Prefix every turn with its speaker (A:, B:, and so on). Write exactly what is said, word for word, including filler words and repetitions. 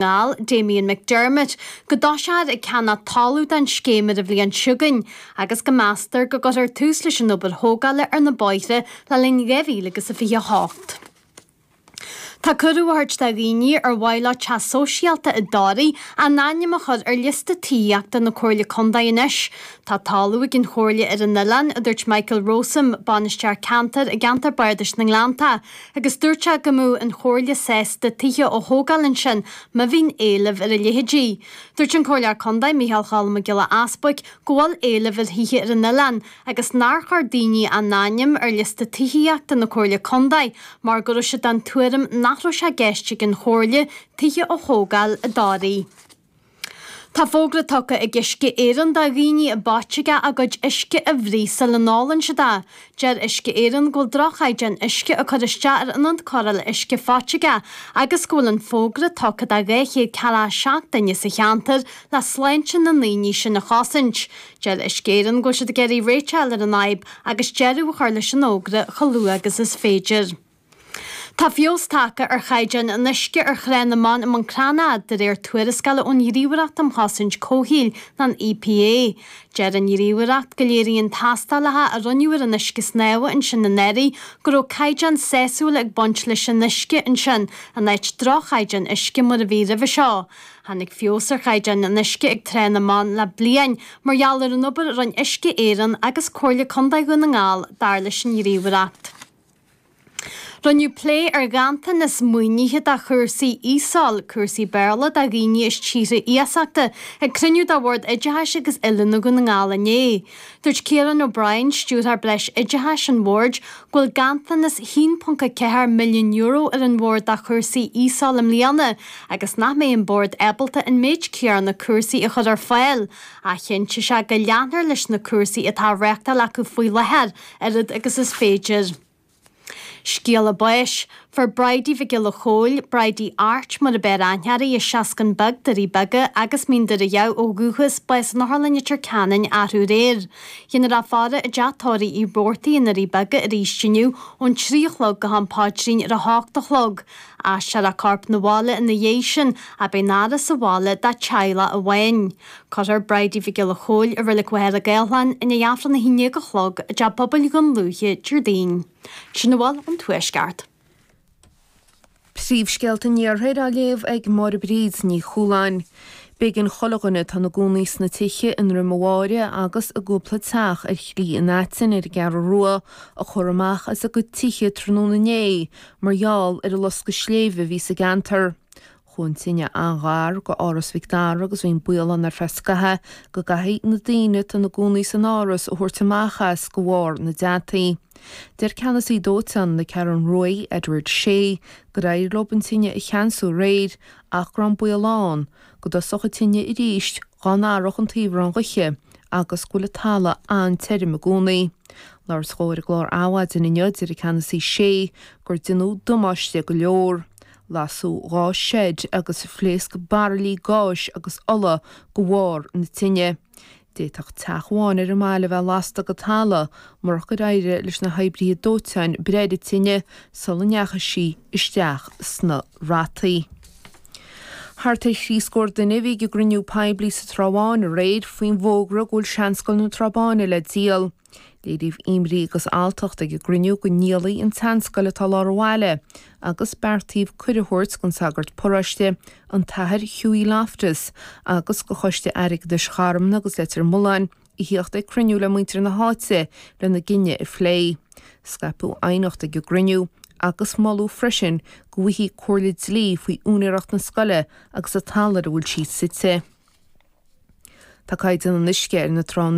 A: nGall, Damien McDermott, go dtosófar ag ceannach talamh don scéim ar an bhliain seo chugainn agus go meastar go gcuirfear tús leis an obair thógála ar na bóithre le linn dhá mhíle agus a fiche hocht. Tá cuireadh á thabhairt do dhaoine ar mhaith leo teach sóisialta i dToraigh a n-ainm a chur ar liosta tithíochta na Comhairle Contae anois. Tá talamh ag an Chomhairle ar an oileán, a dúirt Michael Rowsome, bainisteoir ceantair i gceantar Bardais na nGleannta, agus dúirt sé go mbeadh an Chomhairle sásta tithe a thógáil ansin má bhíonn éileamh ar a leithéidí. Dúirt an Comhairleoir Contae Micheál Cholm Mac Giolla Easbuic go bhfuil éileamh ar thithe ar an oileán agus nár chuir daoine a n-ainm ar liosta tithíochta na Comhairle Contae mar go raibh siad den tuairim nach raibh sé i gceist ag an Chomhairle tithe a thógáil i dToraigh. Tá fógra tugtha ag Uisce Éireann do dhaoine i bPáiteaga a gcuid uisce a bhruith sula n-ólann siad é. Deir Uisce Éireann go bhfuil droch-chaighdeán uisce ag cur isteach ar ionad cóireála uisce Pháiteaga agus go bhfuil an fógra tugtha do dhá chéad ceathracha a seacht duine sa cheantar le sláinte na ndaoine sin a chosaint. Deir Uisce Éireann go bhfuil siad ag iarraidh réiteach a fháil ar an fhadhb agus deireadh a chur leis an fhógra chomh luath agus is féidir. Tá feabhas tagtha ar chaighdeán an uisce ar Thrá na mBan i mBun Cranncha de réir tuarascála ón Ghníomhaireacht um Chosaint Comhshaoil, an EPA. Deir an Ghníomhaireacht go léiríonn tástálacha a rinneadh ar an uisce snámha ansin anuraidh go raibh caighdeán sásúil ag baint leis an uisce ansin in áit droch-chaighdeán uisce mar a bhí roimhe seo. Tháinig feabhas ar chaighdeán an uisce ag Trá na mBan le bliain mar gheall ar an obair a rinne Uisce Éireann agus Comhairle Contae Dhún na nGall, dar leis an Ghníomhaireacht. Rinneadh plé ar ghanntanas maoinithe do chúrsaí ESOL, cúrsaí Béarla do dhaoine as tíortha iasachta, ag cruinniú de Bhord Oideachais agus Oiliúna Dhún na nGall inné. Dúirt Ciarán O'Brien, stiúrthóir breis oideachais an bhoird, go bhfuil ganntanas haon ponc a ceathair milliún euro ar an bhord do chúrsaí ESOL i mbliana agus nach mbeidh an bord ábalta an méid céanna cúrsaí a chur ar fáil. Ach chinntigh sé go leanfar leis na cúrsaí atá á reáchtáil acu faoi láthair, oiread agus is féidir. Scéala báis, Fuair Bridie Mhic Giolla Chóill, Bridie Art mar ab fhearr aithne uirthi, as Seascann Beag, Doirí Beaga agus Mín Doire Dhamh ó dhúchas, bás in Otharlann Leitir Ceanainn arú aréir. Déanfar í a faire i dteach tórraimh Uí Robhartaigh i nDoirí Beaga arís inniu ón trí a chlog go ham paidrín ar a hocht a chlog. Aistreofar a corp 'na bhaile ina dhiaidh sin ach beidh an fhaire sa bhaile dá teaghlach amháin. Cuirfear Bridie Mhic Giolla Chóill i Reilig Mhachaire Gathlán i ndiaidh Aifreann a haon déag a chlog i dTeach Pobail Dhún Lúiche Déardaoin. Sin a bhfuil ón Tuaisceart.
B: Príomhscéalta an Iarthair á léamh ag Máire Bríd Ní Chualáin. B'éigean chuile dhuine atá ina gcónaí sna tithe i nDroim a' Bháire agus i gcúpla teach ar Shlí an Aitinn ar an gCeathrú Rua a chur amach as a gcuid tithe tráthnóna inné mar gheall ar an loscadh sléibhe a bhí sa gceantar. Chuaigh an tine an-ghar go Áras Mhic Dara agus bhí an baol ann ar feadh scaithimh go gcaithfidh na daoine atá ina gcónaí san áras a thabhairt amach as de bharr na dteanntaí. Deir ceannasaí dóiteáin na Ceathrún Ruaidh, Edward Shea, gur éirigh leo an tine a cheansú aréir ach go raibh an baol ann go dtosódh an tine arís dá n-athródh an taobh an ghaoithe agus go bhfuil an talamh an-tirim i gcónaí. Labhairt dó ar an gclár Adhmhaidin inniu, deir an ceannasaí Shea gur déanadh damáiste go leor. Lasadh dhá seid agus phléasc bairillí gáis agus ola de bharr na tine. D'fhéadfadh teach amháin ar an mbaile a bheith lasta go talamh murach gur éirigh leis na hoibrithe dóiteáin breith ar an tine sula ndeachaigh sí isteach sna rataí. Thart ar thrí scór duine a bhí ag an gcruinniú poiblí sa Trá Bháin aréir faoin bhfógra go bhfuil Seanscoil na Trá Báine le díol. Léiríodh imní agus alltacht ag an gcruinniú go ndíolfaí an tseanscoil atá i lár an bhaile agus beartaíodh cuireadh a thabhairt don sagart paróiste, an tAthair Hughie Loftus, agus do Choiste Airgeadais Charmna agus Leitir Mealláin a theacht ag cruinniú le muintir na háite lena gcinneadh a phlé. Scaipeadh aighneacht ag an gcruinniú agus moladh freisin go bhfaighfí comhairle dlí faoi úinéireacht na scoile agus an talamh ar a bhfuil sí suite. Tá caighdeán an uisce ar na tránna